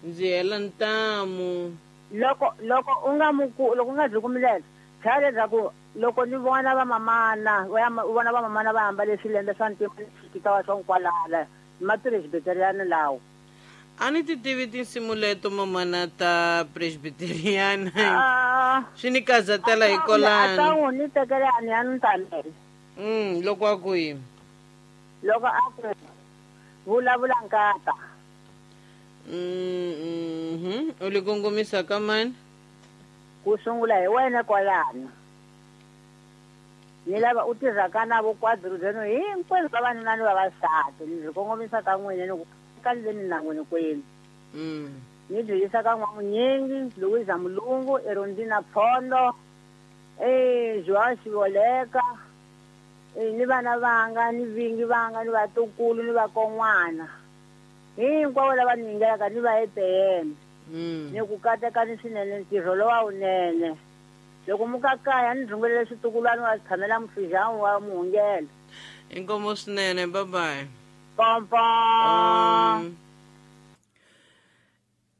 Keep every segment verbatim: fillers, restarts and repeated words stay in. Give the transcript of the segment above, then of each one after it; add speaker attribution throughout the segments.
Speaker 1: Ndzi hela ntamu.
Speaker 2: Loko loko u nga muku loko u nga byi kumilela tlhela leswaku loko ni vona vamamana u vona vamamana va ambale swilembe swa ntima xikitawa swa nkwalala mapresbiteriana lawo.
Speaker 1: A ni ti tivi tinsimu leto mamana ta presbiteriana. Swi ni kazatela hi kolani.
Speaker 2: A ta n'wi ni tekela a ni ya ni tamele.
Speaker 1: Mm, loko a ku yini?
Speaker 2: Loko a ku vulavula nkata.
Speaker 1: Mhm. U li kongomisa ka mani?
Speaker 2: Ku sungula hi wena kwalano. Ni lava u tirhaka na vokwadro byenu hinkwenu vavanuna ni vavasati ni byi kongomisa ka n'wina ni ku ka le na n'wina kwenu.
Speaker 1: Mm.
Speaker 2: Ni byi yisa ka N'wamunyingi, Louisa Mulungu, Erondina Phondo, eh Joao Xivoleka, eh ni vana vanga, ni vingi vanga, ni vatukulu, ni vakon'wana. Hinkwavo lava ni yingelaka ni va E P M.
Speaker 1: Mm.
Speaker 2: Ni ku katekani swinene ntirho lowa wunene. Loko mukakaya ni rhungelele switukulwana wa tshamela mufijani wa muhungelo.
Speaker 1: Inkomo swinene, bye bye.
Speaker 2: Pompo.
Speaker 1: Um,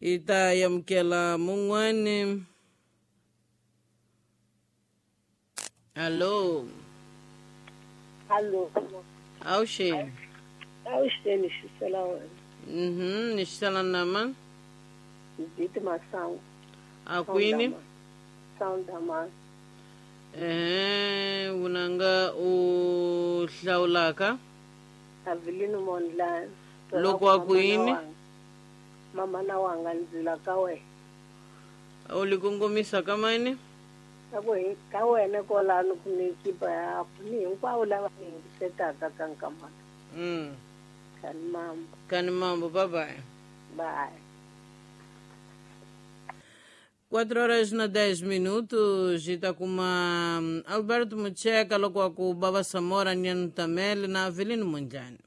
Speaker 1: ita yamukela mun'wani. Allo.
Speaker 3: Allo.
Speaker 1: Awuxeni.
Speaker 3: Awuxeni xisela wena.
Speaker 1: Mhm, ni xisela na mani?
Speaker 3: Diti Masangu.
Speaker 1: A kwini?
Speaker 3: Soundaman.
Speaker 1: Eh, vunanga u hlawulaka?
Speaker 3: Avelino Mondlane.
Speaker 1: Loko a ku yini?
Speaker 3: Mama na wanga ndzila ka wena.
Speaker 1: U li kongomisa ka mani?
Speaker 3: Ka ku hi ka wena kwalano ku ni kipa ya ni hinkwavo lava ni yingisetaka ka nkamana.
Speaker 1: Mm.
Speaker 3: Kani mambo.
Speaker 1: Kani mambo, bye bye.
Speaker 3: Bye.
Speaker 1: quatro horas na dez minutos, e tá com uma Alberto Mucheka, loko a ku Baba Samora, Nyanu Tamele, na Avelino Mondlane.